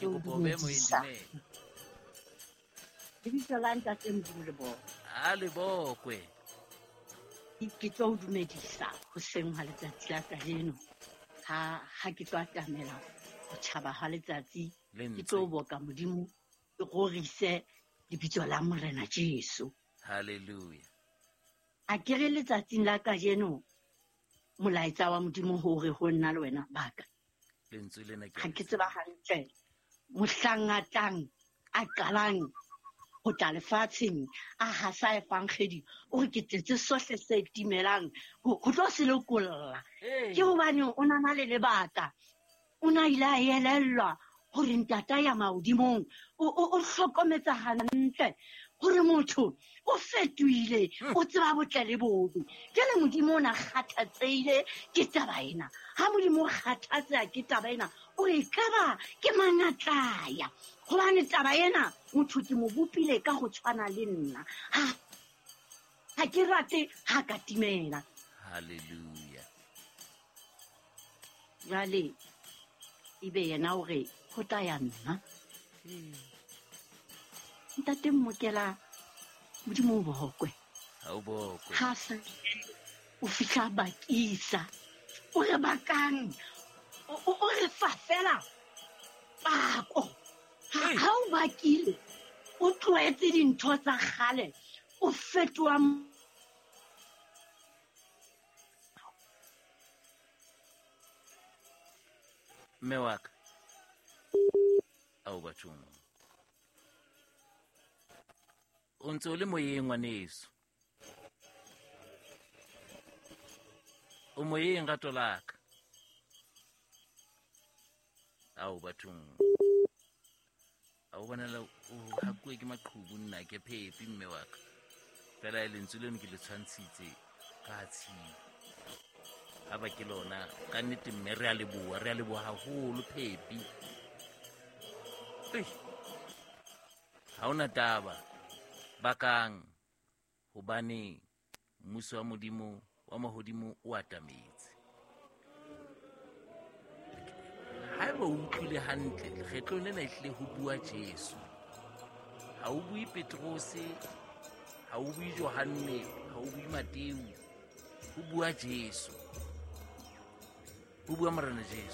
Ke kopa o be moyeng, dumela. Lebitso la Ntate Modimo le bokwe. A le bokwe. Ke tlo o dumedisa hoseng ha letsatsi la kajeno. Ha ke tlo atamela ho tjhaba ha letsatsi, ke tlo boka Modimo, ke rorise lebitso la Morena Jesu. Hallelujah. A ke re letsatsing la kajeno molaetsa wa Modimo hore ho nna le wena baka. Lentswe lena ke ha ke tseba hantle mohlang a tlang a qalang ho tla lefatsheng a hasa efankgedi, o re ke tletse sohle se timelang ho tlo se lokolla. Ke hobane o na na le lebaka, o na ile a elellwa hore ntata ya mahodimong o hlokometsa hantle hore motho o fetohile, o tseba botle le bobe. Jwale Modimo o na kgathatsehile ke taba ena. Ha Modimo o kgathatseha ke taba ena, o re ekaba ke mang a tla ya? Hobane taba ena motho ke mo bopile ka ho tshwana le nna. Ha ke rate ha ka timela. Hallelujah. Jwale ebe yena o re ho tla ya nna. Ntate Mmokela, Modimo o bokwe. Ha o bokwe. Ha sa o fihla bakisa. O re bakang. O re fa fela pako. Ha o bakile, o tlohetse dintho tsa kgale, o fetoha Mme wa ka. Ao bathong. O ntse o le moyeng ngwaneso. O moyeng rato la ka. Ao bathong. A o bonela o hakuwe ke maqhubu nna ke phepi mme wa ka. Fela e lentswe leno ke le tshwantshitse ka tshimo. Ha ba ke lona ka nnete mme re a leboha, re a leboha haholo phepi. Ei. Ha hona taba bakang hobane mmuso wa Modimo wa mahodimo o atametse. Haeba o utlwile hantle, lekgetlong lena ehlile ho bua Jesu. Ha o bue Petrose, ha o bue Johanne, ha o bue Mateu, ho bua Jesu. Ho bua Morena Jesu.